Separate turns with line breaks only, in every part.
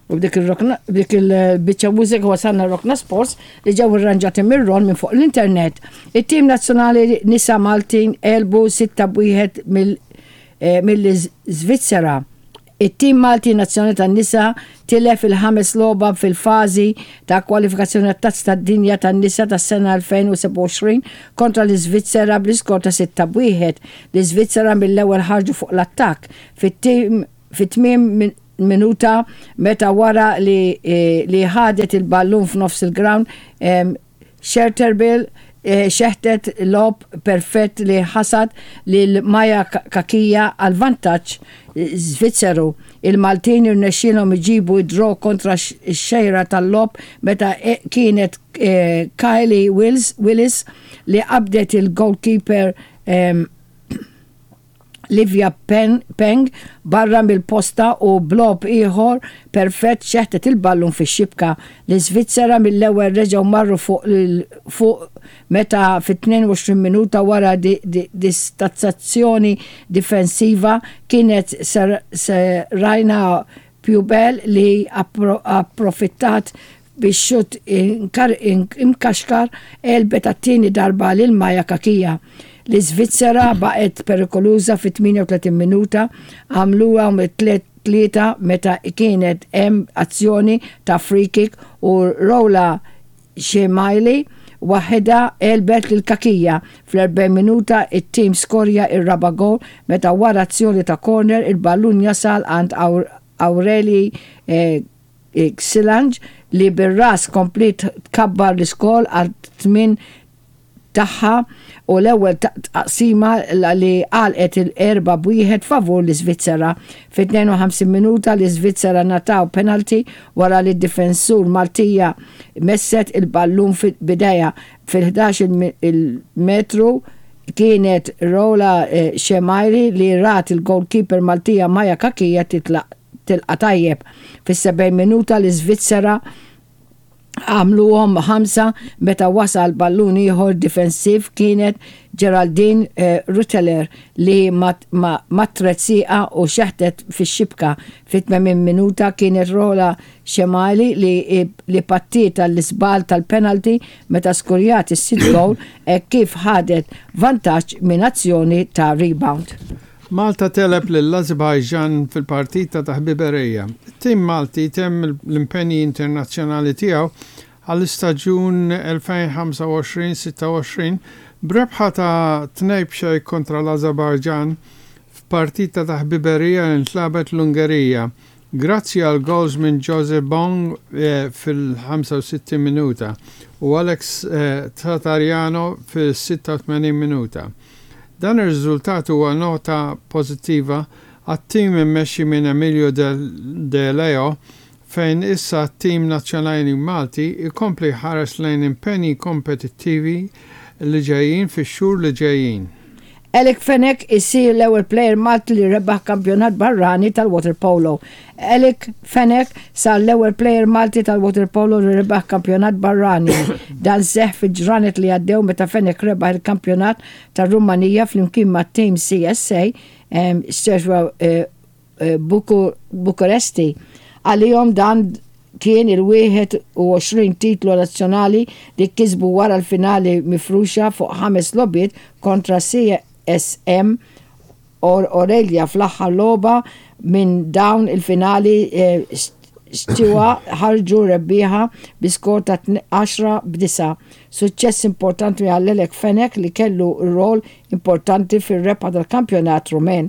U b'dik ir-rokna, b'dik il-biċċa mużika wasalna Rokna Sports li ġew irranġati mir-Ron minn fuq l-internet. It-tim nazzjonali nisa Maltin għelbu 6-1 mill-Iżvizzera. It-tim Malti nazzjonali tan-nisa tilef il-ħames logħba fil-fażi ta' kwalifikazzjoni għat-Tazza tad-Dinja tan-Nisa tas-sena 2027 kontra l-Iżvizzera bl-iskor ta' 6-1. L-Iżvizzera mill-ewwel ħarġu fuq l-attakk fit-tmiem minuta meta wara li li ħadet il-ballun f'nofs il-ground Scherterbill xeħtet lob perfett li ħasad lil Maja Cachia għall-vantaġġ Svizzeru. Il-Maltin irnexxielhom iġibu d-draw kontra x-xejra tal-logħob meta kienet Kylie Willis li qabdet il-goalkeeper Livia Peng barra mill-posta u b'logħob ieħor perfett xeħtet il-ballun fix-xibka. L-Iżvizzera mill-ewwel reġgħu marru fuq fuq meta fit-22 minuta wara distazzazzjoni difensiva kienet Seraina Pubel li approfittat bix-xutt imkaxkar għelbet għat-tieni darba lil Maja Cachia. L-Iżvizzera baqgħet perikoluża fit-38 minuta, għamluha tlieta meta kienet hemm azzjoni ta' free-kick u Roula Shemaili waħedha għelbet lil Cachia. Fl-40 minuta it-tim skorja r-raba' gowl meta wara azzjoni ta' corner il-ballun jasal għand Aurelie Xilange li bir-ras kompliet tkabbar l-iskor għal tmien tagħha u l-ewwel taqsima li għalqet il-erba' b'wieħed favur l-Iżvizzera. Fit-52 minuta l-Iżvizzera ngħataw penalty wara li d-difensur Maltija messet il-ballun b'idejha fil-ħdax il-metru kienet Rola Shemaili li rat il-goalkeeper Maltija Maja Cachia titlaq tilqa' tajjeb. Fis-70 minuta l-Iżvizzera għamluhom ħamsa meta wasal ballun ieħor difensiv kienet Geraldine Reuteler li mattret sieqha u xeħtet fix-xibka. Fit-80 minuta kienet Rola Shemaili li pattiet għall-iżball tal-penalty meta skurjat is-sitt gowl hekk kif ħadet vantaġġ minn azzjoni ta' rebound.
Malta tegħleb lill-Azerbaijan fil-partita ta' ħbiberija. It-tim Malti temm l-impenji internazzjonali tiegħu għall-istaġun 2025-26 b'rebħa ta' 2 b'xejn kontra l-Azerbaijan f'partita ta' ħbiberija li ntlagħbet l-Ungerija Grazzi għal gowls minn Jose Bong fil-65 minuta u Alex Tratariano fil-86 minuta. Dan ir-riżultat huwa nota pożittiva għat-tim immexxi minn Emilio De Leo fejn issa t-tim nazzjonali Malti jkompli jħares lejn impenji kompetittivi li ġejjin fix-xhur li ġejjin.
Alec Fenech isir l-ewwel plejer Malti li rebaħ kampjonat barrani tal-waterpolo. Alec Fenech sar l-ewwel plejer Malti tal-waterpolo li rebaħ kampjonat barrani. Dan seħħ fil-ġranet li għaddew meta Fenech rebaħ il-kampjonat tar-Rumanija flimkien mat-tim CSA Steaua Bucuresti. Għalihom dan kien il-21 titlu nazzjonali li kisbu wara l-finali mifruxa fuq ħames logħbiet kontra CSM Orelia fl-aħħar logħba minn dawn il-finali Steaua ħarġu rebbieħa bi skor ta' 10 b'disgħa. Suċċess importanti għal Lelek Fenech li kellu rwol importanti fir-rebħa tal-kampjonat Rumen.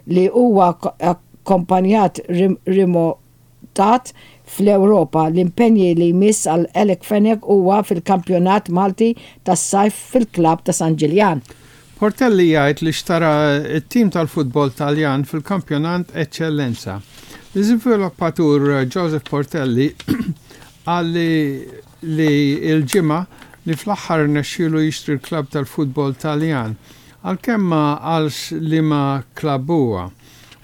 li huwa akkompanjat rimotat fl-Ewropa. L-impenji li jmiss għal Alec Fenech huwa fil-Kampjonat Malti tas-Sajf fil-klabb ta' San Ġiljan.
Portelli jgħid li xtara t-tim tal-futbol Taljan fil-Kampjonant Eċċellenza. L-iżviluppatur Joseph Portelli qal li li l-Ġimgħa li fl-aħħar rnexxielu jixtri l-klabb tal-futbol Taljan Għalkemm ma qalx liema klabb huwa.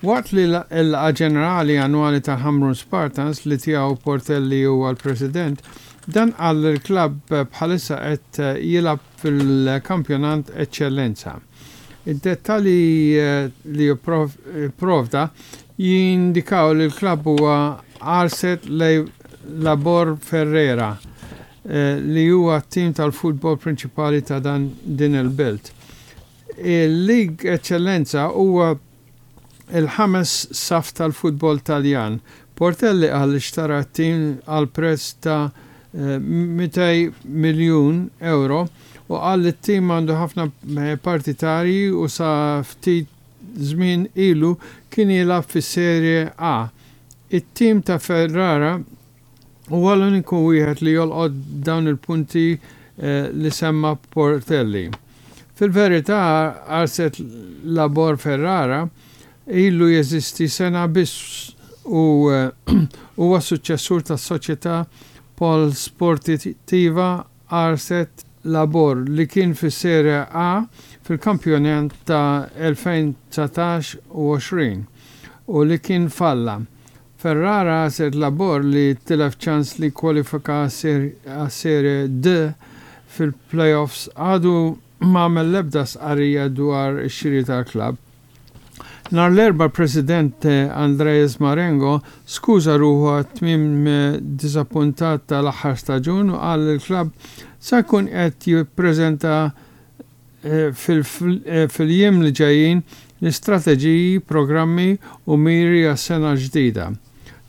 Waqt li l-laqgħa ġenerali annwali tal-Ħamrun Spartans li tiegħu Portelli huwa l-president, dan qal li l-klabb bħalissa qed jilgħab fil-kampjonant Eċċellenza. Id-dettalji li pprovda jindikaw li l-klabb huwa. Arset Labor Ferrera li huwa t-tim tal-futbol prinċipali ta' dan din il-belt. Il-League Eccellenza huwa il-ħames saff tal-futbol Taljan. Portelli qal li xtara t-tim għal prezz ta' 200 miljun ewro u qal li t-tim għandu ħafna partitarji u sa ftit żmien ilu kien jilgħab fis-Serie A. It-tim ta' Ferrara huwa l-uniku wieħed li jolqot dawn il-punti li semma Portelli. Fil-verità Arset Labor Ferrara ilu jeżisti sena biss u huwa suċċessur tas-soċjetà Polsportiva Arset Labor li kien fis-Serie A fil-kampjonat ta' 2019 u 20 u li kien falla. Ferrara Arset Labor li tilef ċans li kkwalifika għas-Serie D fil-play-offs għadu m'għamel l-ebda stqarrija dwar ix-xiri tal-klabb. Nhar l-Erbgħa l-President Andreas Marengo skuża ruħu għat-tmiem diżappuntat tal-aħħar staġun u qal li l-klabb se jkun qed jippreżenta fil-jiem li ġejjin l-istrateġiji, programmi u miri għas-sena l-ġdida.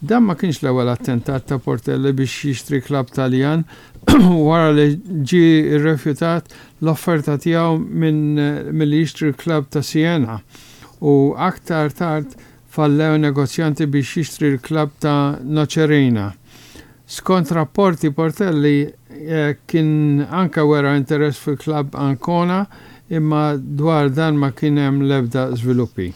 Dan ma kienx l-ewwel attentat ta' Portelli biex jixtri klabb Taljan wara li ġie rrefjutat l-offerta tiegħu minn milli jixtri l-klabb ta' Siena u aktar tard fallew negozjanti biex jixtri l-klabb ta' Nocerina. Skont rapporti Portelli kien anke wera interess fil-klabb Ancona imma dwar dan ma kien hemm l-ebda żviluppi.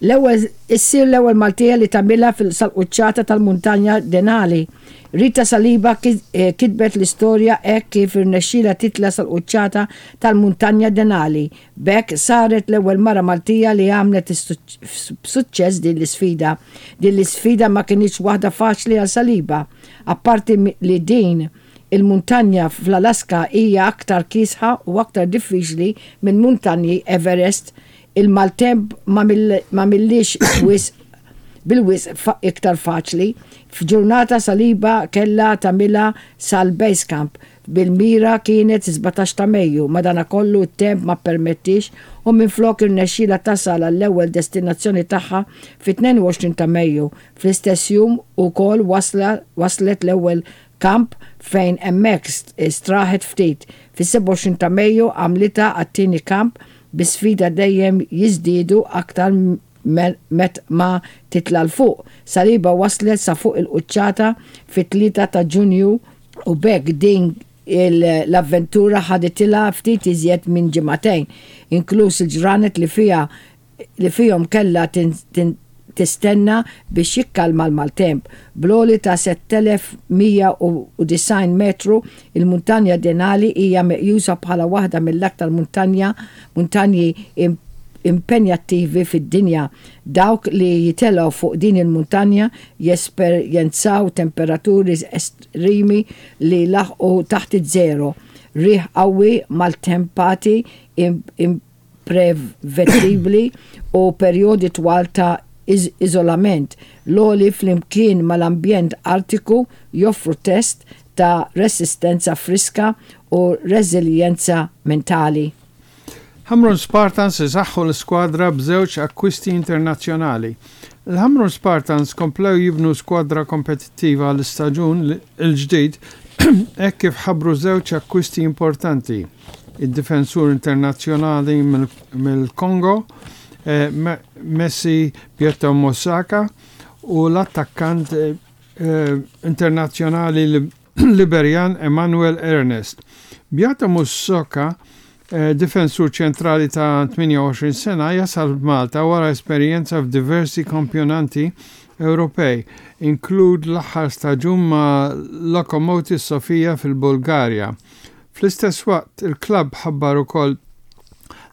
L-ewwel issir l-ewwel Maltija li tagħmilha fil sal-quċċata tal-muntanja Denali. Rita Saliba kitbet l-istorja hekk kif irnexxielha titla' sal-quċċata tal-muntanja Denali. B'hekk saret l-ewwel mara Maltija li għamlet b'suċċess din l-isfida. Din l-isfida ma kinitx waħda faċli għal Saliba. Apparti li din il-muntanja fl-Alaska hija aktar kiesħa u aktar diffiċli minn muntanji Everest Il-maltemp m'għamilliex wisq bil-wisq iktar faċli. F'ġurnata Saliba kellha tagħmilha sal-base camp bil-mira kienet 17 ta' Mejju, madanakollu t-temp ma ppermettiex u minflok irnexxielha tasal għall-ewwel destinazzjoni tagħha fit-22 ta' Mejju. Fl-istess jum ukoll waslet l-ewwel kamp fejn hemmhekk straħet ftit. Fis-27 ta' Mejju għamlitha għat-tieni kamp bi sfida dejjem jiżdiedu aktar met ma titla' 'l fuq. Saliba waslet sa fuq il-quċċata fit-3 ta' Ġunju u b'hekk din l-avventura ħaditilha ftit iżjed minn ġimagħtejn, inkluż il-ġranet li fiha li fihom kellha tistenna biex jikkalma l-maltemp. Bl-għoli ta' 7,190 metru, il-Muntanja Denali hija meqjusa bħala waħda mill-aktar muntanja muntanji impenjattivi fid-dinja. Dawk li jitilgħu fuq din il-muntanja jesperjenzaw temperaturi estremi li jlaħħqu taħt iż-żero, riħ qawwi, maltempati imprevedibli u perjodi twal ta' iżolament. L-għoli flimkien mal-ambjent Artiku joffru test ta' resistenza friska u reżiljenza mentali.
Ħamrun Spartans isaħħu l-iskwadra b'żewġ akkwisti internazzjonali. Il-Ħamrun Spartans komplew jibnu skwadra kompetittiva għall-istaġun il-ġdid hekk kif ħabbru żewġ akkwisti importanti. id-difensur internazzjonali mill-Kongo, Messi Pietro Mosaka u l-attakkant internazzjonali Liberjan Emmanuel Ernest. Beato Mussoka, difensur ċentrali ta' 28 sena, jasal f'Malta wara esperjenza f'diversi kampjonanti Ewropej, inklud l-aħħar staġun ma' Lokomotiv Sofia fil-Bulgarja. Fl-istess waqt, il-klabb ħabbar ukoll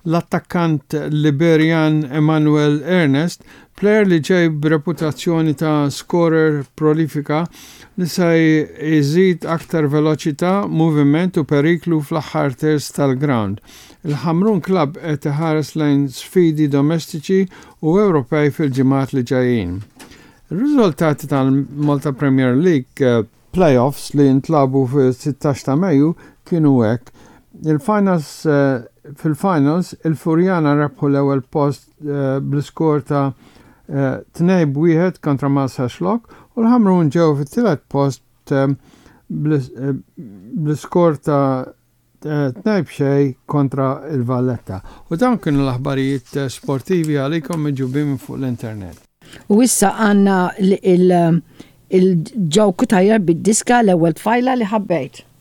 l-attakkant Liberjan Emmanuel Ernest, plejer li ġej b'reputazzjoni ta' skorer prolifika li se jżid aktar veloċità, moviment u periklu fl-aħħar terz tal-grawnd. Il-Ħamrun Club qed iħares lejn sfidi domestiċi u Ewropej fil-ġimgħat li ġejjin. Ir-riżultati tal-Malta Premier League eh, Playoffs li ntlagħbu fis-16 ta' Mejju kienu hekk, Il-finals Fil-finals, il-Furjana rebħu l-ewwel post bl-iskor ta' 2-1 kontra Marsaxlokk u l-Ħamrun ġew fit-tielet post bl-iskor ta' 2-0 kontra l-Valletta. U dawn kienu l-aħbarijiet sportivi għalikom miġjubin minn fuq l-internet.
U issa għandna il-Joe Cutajar bid-diska L-Ewwel Tfajla li Ħabbejt.